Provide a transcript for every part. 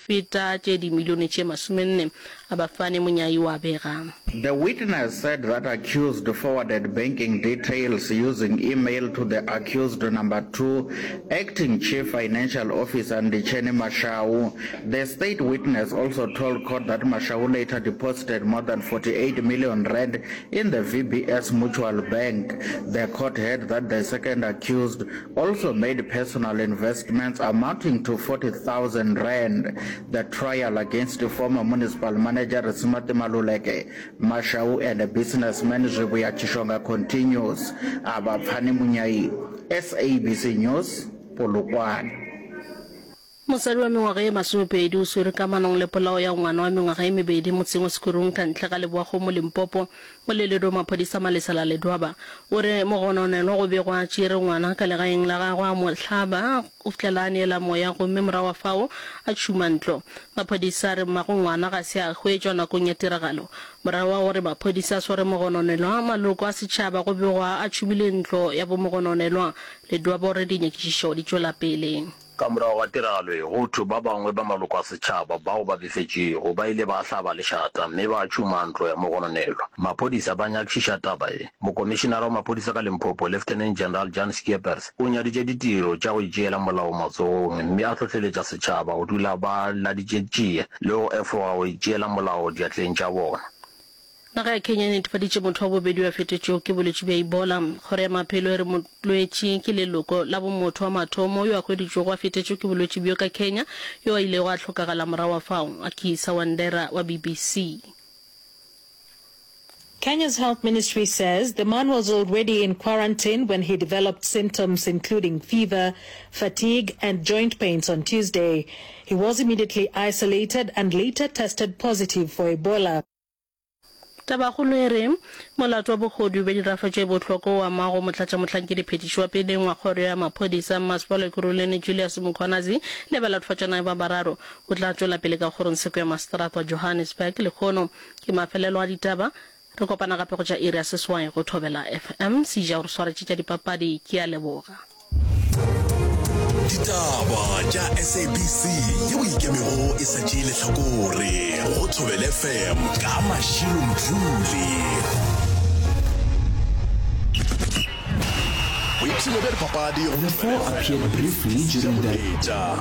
feta tše dimilione tše masomenne. Abafane Monyai o a bega. The witness said that accused forwarded banking details using email to the accused number 2, acting chief financial officer Nditsheni Mashau. The state witness also told court that Mashau later deposited more than 48 million rand in the VBS Mutual Bank. The court heard that the second accused also made personal investments amounting to 40,000 rand. The trial against former municipal manager Risimati Maluleke, Mashau and businessman Zwivhuya Tshishonga continues. Avhapfani Munyai, SABC News, Polokwane. Mosadi wa mengwaga ye masomepedi o swerwe kamanong le polao ya ngwana wa mengwaga ye mebedi motseng wa Sekurung ka ntle ga Leboakgomo, Limpopo. Moleledi wa maphodisa Malesela Ledwaba o re mogononelwa go begwa a tšere ngwana ka legaeng la gagwe a mo hlaba go fihlela a neela moya gomme morago ga fao a tšhuma ntlo. Maphodisa a re mmago ngwana ga se a hwetšwa nakong ya tiragalo. Morago ga gore maphodisa a sware mogononelwa, maloko a setšhaba go begwa a tšhumile ntlo ya bomogononelwa. Ledwaba o re dinyakišišo di tšwela pele. Ka morago ga tiragalo ye, go thwe ba bangwe ba maloko a setšhaba bao ba befetšwego ba ile ba hlaba lešata mme ba tšhuma ntlo ya mogononelwa. Maphodisa ba nyakišiša taba ye. Mokomišinara wa maphodisa ka Limpopo, Lieutenant General Jan Scheepers, o nyaditše ditiro tša go itšeela molao matsogong mme a hlohleletša setšhaba go dula ba laditše tšie le go efoga go itšeela molao diatleng tša bona. Naga ya Kenya e netefaditše motho wa bobedi yo a fetetšwego ke bolwetši bja Ebola. Kgoro ya Maphelo e re molwetši ke leloko la bomotho wa mathomo yo a hweditšwego a fetetšwe ke bolwetši bjo ka Kenya, yo a ilego a hlokagala morago ga fao. Akisa Wandera wa BBC. Kenya's health ministry says the man was already in quarantine when he developed symptoms including fever, fatigue and joint pains on Tuesday. He was immediately isolated and later tested positive for Ebola. Tabakgolo e re, Molato wa bohodu bja dirafa tše bohlokwa o amago motlatšamohlankediphetiši wa peleng wa kgoro ya maphodisa Mmasepala Ekurhuleni Julius Mkhwanazi le balatofatšanae ba bararo o tla tšwela pele ka kgorongtsheko ya maseterata wa Johannesburg lehono. Ke mafelelo a ditaba. Re kopana gape go tša iri ya seswai go Thobela FM. Seja o re swaretše tša dipapadi. Ke a leboga. Ditaba tša SABC yeo ikemego e sa tšee lehlakore go Thobela FM ka Mashilo Mdluli. Boipshino bja dipapadi go The four appeared briefly during the. Moletša.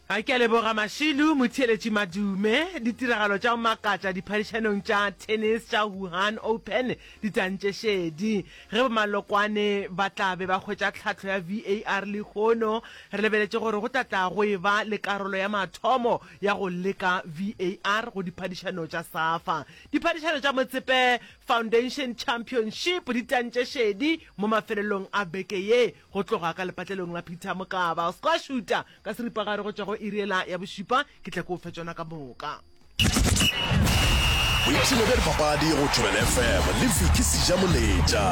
A Ke a leboga Mashilu, motheeletši Madume. Ditiragalo tša go makatša diphadišanong tša tennis tša Wuhan Open di tantše šedi. Ge bomalokwane ba tla be ba hwetša tlhahlo ya VAR lehono, re lebeletše gore go tla tla go eba le karolo ya mathomo ya go leka VAR go diphadišano tša SAFA. Diphadišano tša Motsepe Foundation Championship di tantše šedi mo mafelelong a beke ye go tloga ka lepatlelong la Peter Mokaba. O se ke wa šuta Ka seripagare go tšwa go iri yela ya bošupa, ke tla ke o fe tšona ka moka. Boipshino bja dipapadi go Thobela FM le Vicky Sejamoletša.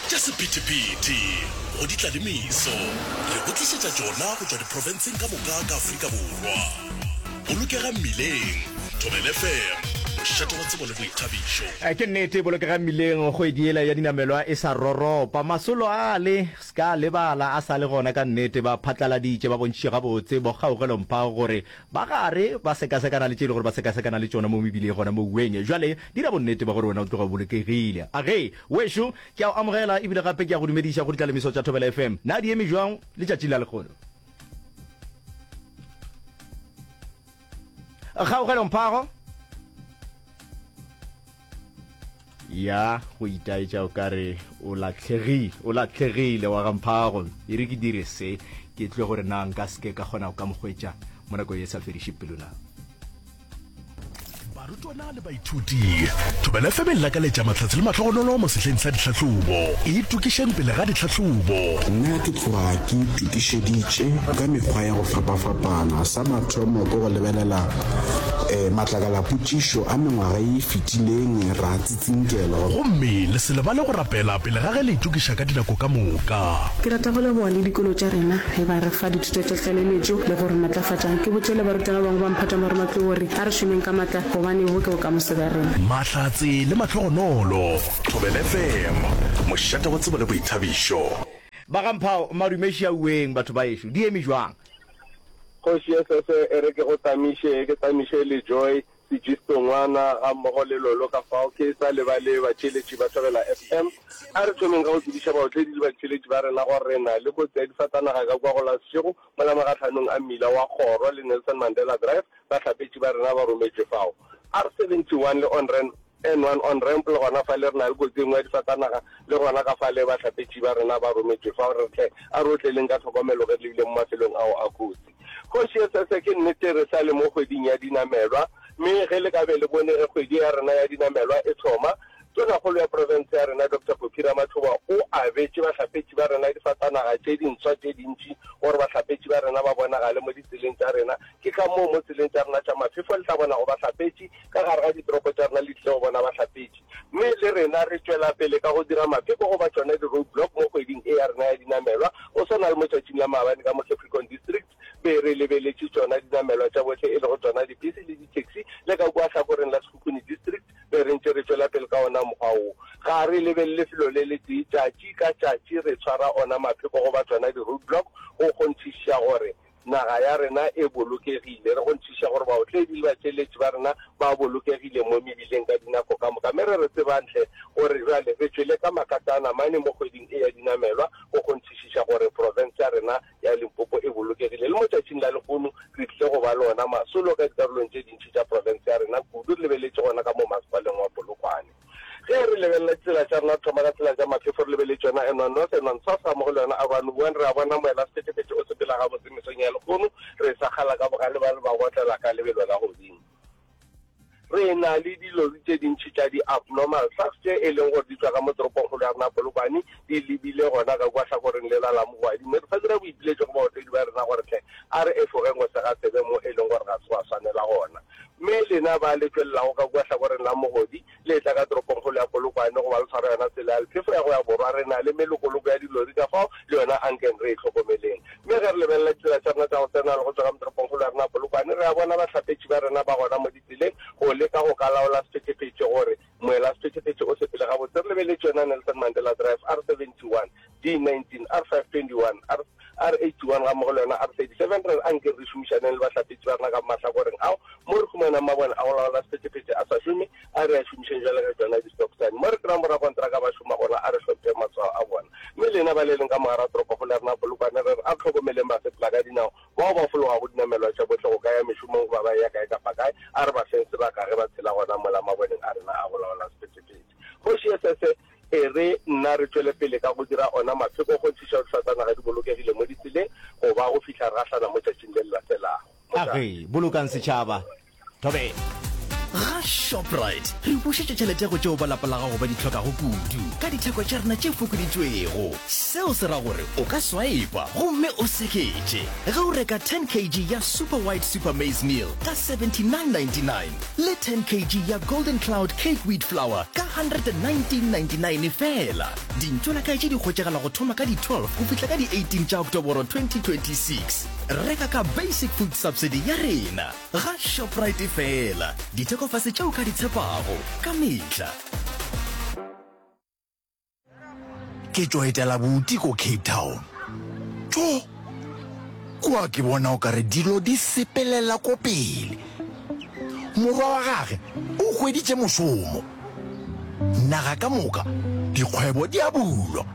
Tša sephethephethe go di tla le meso, re go tlišetša tšona go tšwa diprofenseng ka moka ka Afrika Borwa. Bolokega mmileng, Thobela FM, mošate wa tsebo le boithabišo. Ke nnete, bolokega mmileng, kgwedi yela ya dinamelwa e sa roropa. Masolo ale, ska lebala, a sa le gona ka nnete. Ba phatlaladitše, ba bontšhitše gabotse bo Kgaugelo Mphago gore ba gare ba sekasekana le tše e le gore ba sekasekana le tšona mo mebileng gona mo Uweng. Bjale dira bonnete ba gore wena o tloga o bolokegile. Agee, wešo, ke a o amogela ebile gape ke a go dumediša go ditlalemiso tša Thobela FM. Na di eme bjang letšatšing la lekgono? Kgaugelo Mphago ya go itaetša o ka re o latlhegile o latlhegile wa ga Mphago e re ke dire se ke tlwe gore na nka seke ka kgona go ka mo hwetša mo nako ye sa fediše pelo na Barutwana le baithuti, Thobela FM e lakaletša mahlatse le mahlogonolo mo sehleng sa ditlhahlobo. Itokišeng pele ga ditlhahlobo. Nna ke tloga ke itokišeditše ka mekgwa ya go fapafapana. Sa mathomo ke go lebelela matlakalapotšišo a mengwaga ye e fetileng ra tsinkelwa. Gomme le se lebale go rapela pele ga ge le itokiša ka dinako ka moka. Ke rata go leboga le dikolo tša rena ge ba re fa dithuto tša tlaleletšo le go re matlafatša. Ke botše le barutwana ba bangwe ba mphato wa marematlou gore a re šomeng ka matla gobane bo ke bokamoso bja rena. Mahlatse le mahlogonolo. Thobela FM, mošate wa tsebo le boithabišo. Ba ga Mphao, madume šiauweng batho ba ešo, di eme jwang? Kgoši Esese e re ke go tamiše, ke tamiše le Joy, Sejisto Ngwana gammogo le Lolo ka fao ke sa lebale batheeletši ba Thobela FM. A re thomeng ka go tsebiša baotledi le batheeletši ba rena gore re na le kotsi ya difatanaga ka kua go la Seshego mola magahlanong a mmila wa Kgoro le Nelson Mandela Drive, bahlapetši ba rena ba rometšwe fao. R71 le Onren N1 on ramp le gona fale re na le kotsi e nngwe ya difatanaga le gona ka fale bahlapetši ba rena ba rometšwe fao re tle a re otleleng ka tlhokomelo ge re lebile mo mafelong ao a kotsi. Kgoši Esese ke nnete re sa le mo kgweding ya dinamelwa mme ge le ka be le bone ge kgwedi ya rena ya dinamelwa e thoma Tonakgolo ya profense ya rena Doctor Phophi Ramathuba o abetše bahlapetši ba rena difatanaga tše dintshwa tše dintši gore bahlapetši ba rena ba bonagale mo ditseleng tša rena. Ke ka moo mo tseleng tša rena tša maphefo le tla bonago bahlapetši ka gare ga ditoropo tša rena le tlile go bona bahlapetši. Mme le rena re tšwela pele ka go dira mapheko goba tšona di-road block mo kgweding e ya rena ya dinamelwa go swana le mo tšatšing la maabane ka mo Capricorn District be re lebeletše tšona dinamelwa tša bohle e lego tšona dipese le di-taxi le ka kua hlakoreng la Sekhukhune District be re ntše re tšwela pele ka ona mokgwa wo. Ga re lebelele lefelo le letee, tšatši ka tšatši re tshwara ona mapheko goba tšona di-road block go kgonthišiša gore Naga ya rena e bolokegile. Re kgonthiša gore baotledi le batšeletši ba rena ba bolokegile mo mebileng ka dinako ka moka. Mme re re tsebang hle gore bjale re tšwele ka makatana mane mo kgweding e ya dinamelwa go kgonthišiša gore profense ya rena ya Limpopo e bolokegile. Le mo tšatšing la lehono re tlile go ba le ona masolo ka dikarolong tše dintši tša profense ya rena, kudu re lebeletše gona ka mo masepaleng wa Polokwane. Ge re lebelela ditsela tša rena, re thoma ka tsela tša maphefo, re lebeletše yona N1 North, N1 South gammogo le yona R1 1, re a bona moelasephetephete o sepela gabotse mesong ya lehono, re sa kgala ka bogale ba re ba otlela ka lebelo la godimo. Re na le dilori tše dintši tša di-abnormal trucks tše e leng gore di tšwa ka mo toropongkgolo ya rena Polokwane di lebile gona ka kua hlakoreng lela la Mogwadi, mme re sa dira boipiletšo go baotledi ba rena gore hle a re efogeng go sega tsebe mo e leng gore ga se gwa swanela gona. Mme lena ba le tšwelelago ka kua hlakoreng la Mogodi, le etla ka toropongkgolo ya Polokwane goba le tshwara yona tsela ya lephefo ya go ya borwa, re na le melokoloko ya dilori ka fao, le yona ankeng re e hlokomeleng. Mme ge re lebelela ditsela tša rena tša go tsena le go tšwa ka mo toropongkgolo ya rena ya Polokwane, re a bona bahlapetši ba rena ba gona mo ditseleng go leka go ka laola sephethephethe gore moelasephetephete o sepele gabotse. Re lebeletše yona Nelson Mandela Drive, R71, D19, R521, R, R81 gammogo le yona R37. Re re anke re šomišaneng le bahlapetši ba rena ka mahlakoreng ao mo re humanang mabone a go laola sephethephethe a sa šome, a re a šomišeng bjale ka tšona di-stop sign. Mo re kry-ang borakontraka ba šoma gona, a re hlompheng matshwao a bona. Mme lena ba le leng ka mogara toropokgolo ya rena Polokwane, re re a re hlokomeleng basepela ka dinao bao ba fologago dinamelwa tša bohle go ka ya mešomong goba ba eya kae kapa kae, a re ba feng sebaka ge ba tshela gona mola maboneng a rena a go laola sephethephethe. Kgoši Esese e re, Nna re tšwele pele ka go dira ona mapheko go kgonthiša gore difatanaga di bolokegile mo ditseleng go ba go fihla re gahlana mo tšatšing le le latelago. A ge, bolokang setšhaba. Thobela. Ga Shoprite, re bušetša tšhelete go tšeo ba lapa la gago ba di hlokago kudu ka ditheko tša rena tše fokoditšwego. Seo se ra gore o ka swipa gomme o seketše ge o reka 10 kg ya Super White Super Maize Meal ka 79.99 le 10 kg ya Golden Cloud Cake Wheat Flour ka 119.99 feela. Dintšolakae tše di hwetšagala go thoma ka di 12 go fihla ka di 18 tša Oktoboro 2026. Reka ka Basic Food Subsidy ya rena. Ga Shoprite feela, dithekofase tše o ka di tshepago ka mehla. Ke tšo etela buti ko Cape Town. Tjo! Kua ke bona o kare dilo di sepelela ko pele. Morwa wa gage o hweditše mošomo. Naga ka moka dikgwebo di a bulwa.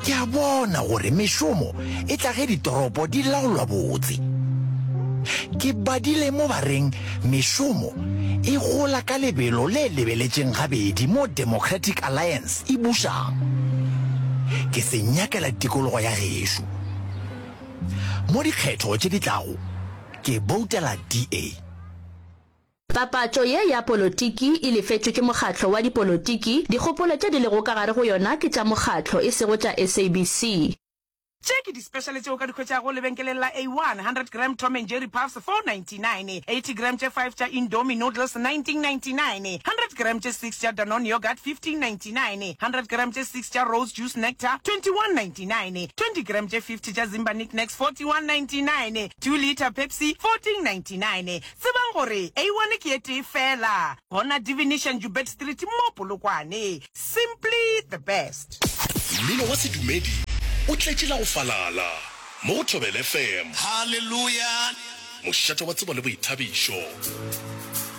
Ke a bona gore mešomo e tla ge ditoropo di laolwa botse. Ke badile mo ba reng mešomo e gola ka lebelo le lebeletšeng gabedi mo Democratic Alliance e bušang. Ke se nyakela tikologo ya gešo. Mo dikgetho tše di tlago ke boutela DA. Papatšo ye ya polotiki e lefetšwe ke mokgatlo wa dipolotiki, dikgopolo tše di lego ka gare go yona ke tša mokgatlo e sego tša SABC. Tše ke di-special tše o ka di hwetšago lebenkeleng la A1, 100 gram Tom and Jerry Puffs, 4.99, 80 gram tše five tša Indomie Noodles, 19.99, 100 gram tše six tša Danone Yoghurt, 15.99, 100 gram tše six tša Rose Juice Nectar, 21.99, 20 gram tše 50 tša Zimba Knickknacks, 41.99, 2 litre Pepsi, 14.99. Tsebang gore A1 ke e tee feela gona Divination Joubert Street mo Polokwane. Simply the best. Mmino wa sedumedi. O tletše la go falala mo go Thobela FM. Haleluya! Mošate wa tsebo le boithabišo.